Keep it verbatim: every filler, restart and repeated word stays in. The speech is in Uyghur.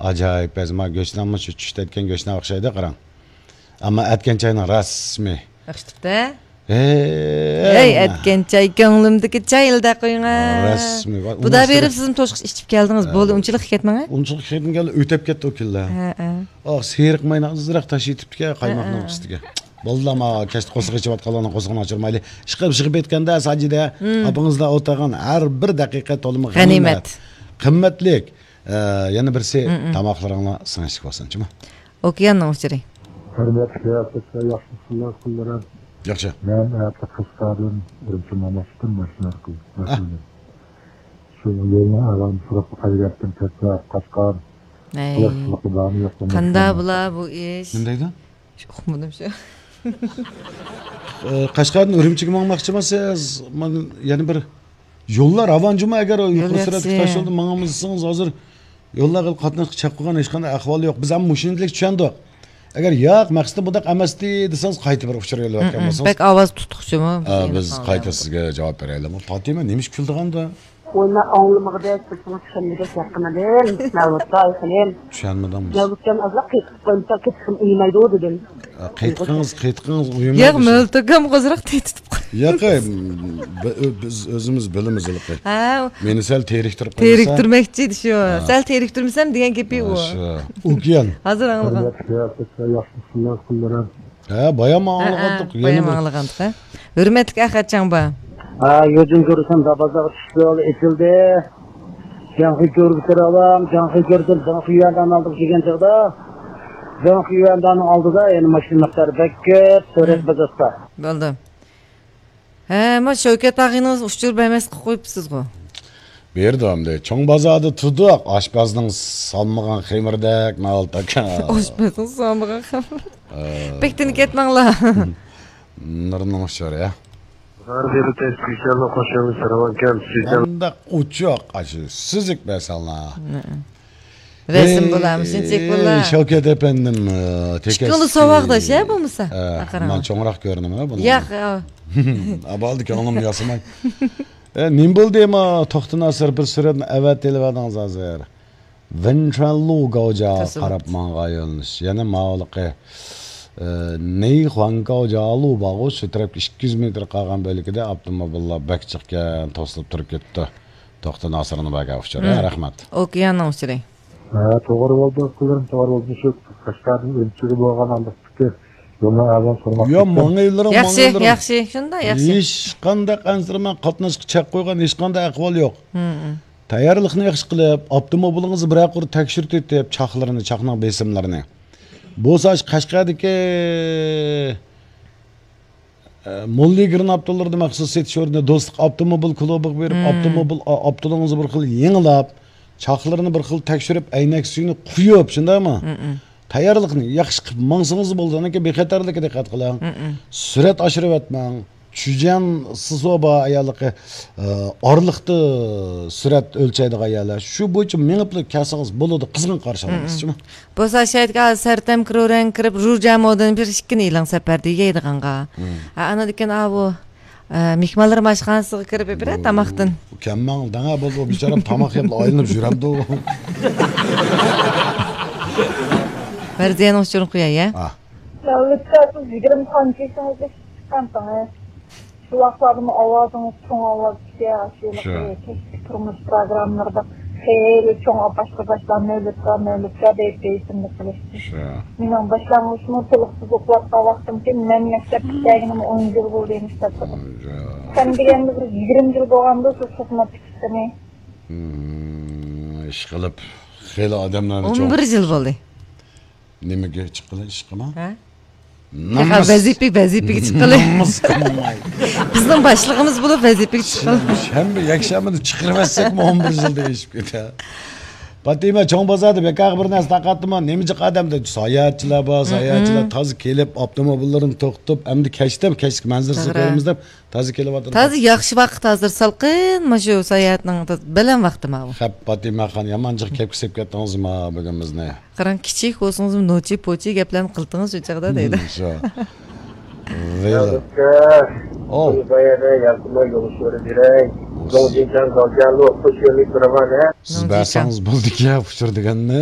ئاجايىپ بەزى ما گۆشنانمۇ شۇ چۈشتە ئەتكەن گۆشنان ئوخشايدۇ، قاراڭ. ئەمما ئەتكەن چاينىڭ رەسمىي. ئوخشىتىپتۇ. ھەي، ھەي، ئەتكەن چاي، كۆڭلۈمدىكى چاي، ئىلدە قويۇڭ. رەسمىي. بۇدا بېرىپ سىزمۇ توشقۇچ ئىچىپ كەلدىڭىز. بولدى، ئۇنچىلىك كەتمەڭ. ئۇنچىلىق كەتمىگەن، ئۆتەپ كەتتى ئۇ كۈنلەر. ھە، ھە. ئاھ، سېرىق ماينى ئازراق تاشلىۋېتىپتىكەن قايماقنىڭ ئۈستىگە. بالىلار، ما كەچتە قورسىقى ئېچىۋاتقانلارنىڭ قورسىقىنى ئاچۇرمايلى. ئىشقىلىپ، ئىشقىپ كەتكەندە ساجىدە ئاپىڭىزدا ئولتۇرغان ھەر بىر دەقىقە تولىمۇ غەنىيمەت. قىممەتلىك. ئە، يەنە بىرسى، تاماقلىرىڭلار سىڭىشلىك بولسۇن، جۇمۇ. ئوكياننىڭ ئۇچۇرى. ھۆرمەتلىك سىياسەتچىلەر، ياخشىمۇسىلەر، قۇللىرىم؟ ياخشى. مەن ئەتە قەشقەردىن ئۈرۈمچى ماماشتىن ماشىنا قىلدىم. ھە. شۇ يولنىڭ ئەھۋالىنى سوراپ قايتىپ كەتتىم، كەتسە قاچقان. ئەي. قانداق بۇلا بۇ ئىش؟ نېمە دەيدۇ؟ شۇ ئۇقمىدىم شۇ. ئە، قەشقەردىن ئۈرۈمچىگە ماڭماقچىمۇ سىز؟ مانا يەنە بىر يوللار راۋان جۇمۇ، ئەگەر يۇقىرى سۈرئەتلىك تاش يولدا ماڭالمىسىڭىز، ھازىر يوللارغا قاتناشقا چەك قويغان ھېچقانداق ئەھۋال يوق. بىز ھەم مۇشۇنچىلىك چۈشەندۇق. ئەگەر ياق، مەقسىتى بۇنداق ئەمەستى دېسىڭىز، قايتا بىر ئۇچۇر يوللىۋەتكەن بولسىڭىز. بەك ئاۋاز تۇتقۇچىمۇ؟ ئا، بىز قايتا سىزگە جاۋاب بېرەيلىمۇ؟ پاتىمە، نېمە ئىش كۈلىدىغاندا؟ ۋوي، مەن ئاڭلىمىغۇدەك، سېسىڭىز چۈشەنمىگۈدەك گەپ قىلمىدىم. مەۋلۇتقا ئايقىلىم. چۈشەنمىدىڭمۇ؟ مەۋلۇتجان ئازراق قېتىق قويمىسا، قېتىقىم ئۇيمايدۇ دېدىم. ئە، قېتىقىڭىز، قېتىقىڭىز ئۇيمايدۇ. ياق، مەۋلۇت ئاكام ئازراق تېتىتىپ قويدى. ياق، ئەي، بى-، ئۆ-، بىز ئۆزىمىز بىلىمىز ھېلىقى. ھە. مېنى سەل تېرىكتۈرۈپ قويمىسا. تېرىكتۈرمەكچى ئىدى شۇ. ھە. سەل تېرىكتۈرمىسەم دېگەن گېپى ئۇ. شۇ. ئوكيان. ھازىر ئاڭلىغان. ھە، بايام ئاڭلىغانتۇق، بايام ئاڭلىغانتۇق، ھە. ھۆرمەتلىك ئەخەت چاڭبا. ھە، يوجۇن كۆرسەم، دابازاغا چۈشۈپ يول ئېچىلدى. جاڭخۇي كۆرگە كىرىۋالام، جاڭخۇي كۆردۈم، جاڭخۇي يۈەنداننىڭ ئالدىغا كەلگەن چاغدا، جاڭخۇي يۈەنداننىڭ ئالدىدا يەنە ماشىنا مىقدارى بەك كۆپ، سۈرەت بازاستا. بولدى. ھە، ما شەۋكەت ئاغىنىڭىز ئۇچۇر بەرمەس قىلىپ قويۇپسىزغۇ. بېرىدۇ ئەمدى. چوڭ بازاردا تۇردۇق، ئاشپەزنىڭ سالمىغان خېمىردەك، مەۋلۇت ئاكا. ئاشپەزنىڭ سالمىغان خېمىر. ھە. بەك تىنىپ كەتمەڭلار. نۇرنىڭ ئۇچۇرى، ھە. قانداق ئوچۇق، ئاشۇ سۈزۈك بەرسەڭلار. رەسىم بولامسىز، چېك بولا. شەۋكەت ئەپەندىم، ئىككىڭلار ساۋاقداش ھە بولمىسا. مەن چوڭراق كۆرۈنىمەن بۇنى. ياق. ئابالدى كۆڭلۈمنى ياسىماي. ئە، نېمە بولدى ما توختى ناسىر، بىر سۈرەتنى ئەۋەتىۋەردىڭىز ھازىر. ۋېنچۇەنلۇ گاۋجاغا قاراپ ماڭغان يۆنىلىش. يەنە ماۋۇلۇقى، ئە، نېيخۇاڭ گاۋجالۇ بارغۇ، شۇ تەرەپكە ئىككى يۈز مېتىر قالغان بۆلىكىدە ئاپتوموبىللار بەك جىقكەن، توسۇلۇپ تۇرۇپ كېتىپتۇ. توختى ناسىرنىڭ بەرگەن ئۇچۇرى. رەھمەت. ئوكياننىڭ ئۇچۇرى. ھە، توغرا بولدى، ئۇكىلىرىم، توغرا بولدى. شۇ قەشقەردىن ئۈرۈمچىگە بولغان ئانداقتىكى يولنىڭ ئەھۋالىنى سورىماقچى. ياق، ماڭايلىرىڭ، ياخشى، ماڭايلىرىڭ. ياخشى، شۇنداق ياخشى. ھېچقانداق ئەنسىرىمەڭ، قاتناشقا چەك قويغان ھېچقانداق ئەھۋال يوق. تەييارلىقنى ياخشى قىلىپ، ئاپتوموبىلىڭىزنى بىرەر قۇر تەكشۈرتۈۋېتىپ، چاقلىرىنى، چاقنىڭ بېسىملىرىنى. بولسا شۇ قەشقەردىكى ئە، موللىگىرنى ئاپتولاردا مەخسۇس سېتىش ئورنى دوستلۇق ئاپتوموبىل كۇلۇبىغا بېرىپ، ئاپتوموبىل، ئا-، ئاپتولىڭىزنى بىر خىل يېڭىلاپ، چاقلىرىنى بىر خىل تەكشۈرۈپ، ئەينەك سۈيىنى قۇيۇپ، شۇنداقمۇ؟ تەييارلىقنى ياخشى قىلىپ ماڭسىڭىز بولىدۇ. ئانىكى بىخەتەرلىككە دىققەت قىلىڭ. سۈرئەت ئاشۇرۇۋەتمەڭ. چۈجيەن سىسۇ بار ئاياللىقى، ئە، ئارىلىقتا سۈرئەت ئۆلچەيدىغان ئاياللار. شۇ بويىچە مېڭىپلا كەلسىڭىز بولىدۇ. قىزغىن قارشى ئالىمىز. بولسا شايىتكە سەرتەم كرورەڭ كىرىپ، رۇجا مودىن بىر ئىككىنى ئېلىڭ سەپەردە يەيدىغانغا. ئا، ئاندىن كېيىن ئاۋۇ، ئە، مېھمانلار ئاشخانىسىغا كىرىپ بىرەر تاماقتىن. كەممەڭ دەڭە بولدى، بىچارەم تاماق يەپ ئايلىنىپ يۈرەمدۇ. مەرزىيەنىڭ ئۇچۇرىنى قوياي، يا؟ ئا. دەۋلەتكە سىز يىگىرمە تانچە يېشىڭىزدا چىققانتىڭىز. شۇ ۋاقىتلاردىمۇ ئاۋازىڭىز چوڭ ئاۋاز ئىكەن، شۇ كەچلىك تۇرمۇش پروگراممىلىرىدا خېلى چوڭ ئاپاش قوزاشلار نۆۋەتكە نۆۋەتكە دەيدۇ، دەيسىملىك قىلىشتى. مېنىڭ باشلانغۇچمۇ تولۇقسىز ئوقۇۋاتقان ۋاقتىمكەن، مەن مەكتەپ پۈتتۈرگىنىمۇ ئون يىل بولدى مەكتەپتە. سەن دېگەندە بىر يىگىرمە يىل بولغاندۇ شۇ خىزمەت تۇتۇشقىنى. ئىشقىلىپ خېلى ئادەملەرنى ئون بىر يىل بولدى. نېمىگە چىققىلى ئىشقىما؟ ھە؟ نامۇس. ۋەزىپە، ۋەزىپىگە چىققىلى. نامۇس قىلماي. بىزنىڭ باشلىقىمىز بولۇپ ۋەزىپىگە چىققىلى. شەنبە، يەكشەنبىنى چىقىرىۋەتسەكمۇ ئون بىر يىلدا ئېشىپ كېتە. پاتىمە، چوڭ بازاردا بىكارغا بىر نەرسە تاقاتتىمۇ؟ نېمە جىق ئادەمدە ساياھەتچىلەر بار، ساياھەتچىلەر تازا كېلىپ، ئاپتوموبىللىرىنى توختىتىپ، ئەمدى كەچتە كەچلىك مەنزىرىسىنى كۆرىمىز دەپ تازا كېلىۋاتىدۇ. تازا ياخشى ۋاقىت ھازىر، سالقىن، مۇشۇ ساياھەتنىڭ بەلەن ۋاقتى ماۋۇ. خەپ، پاتىمەخان، يامان جىق كەپكە سېلىپ كەتتىڭىزما بۈگۈن بىزنى؟ قاراڭ، كىچىك بولسىڭىزمۇ نوچى پوچى گەپلەرنى قىلدىڭىز شۇ چاغدا دەيدۇ. شۇ. ئەلۋەتتە. ئوۋ. بۇ بايادا ياقىملىق يولۇچىلىرى بېرەي. زوڭجىچاڭ گاۋجيەنلۇ خۇش يۆنىلىپ تۇرغان، ھە؟ سىز بەرسەڭىز بولدىكەن ئۇچۇر دېگەننى.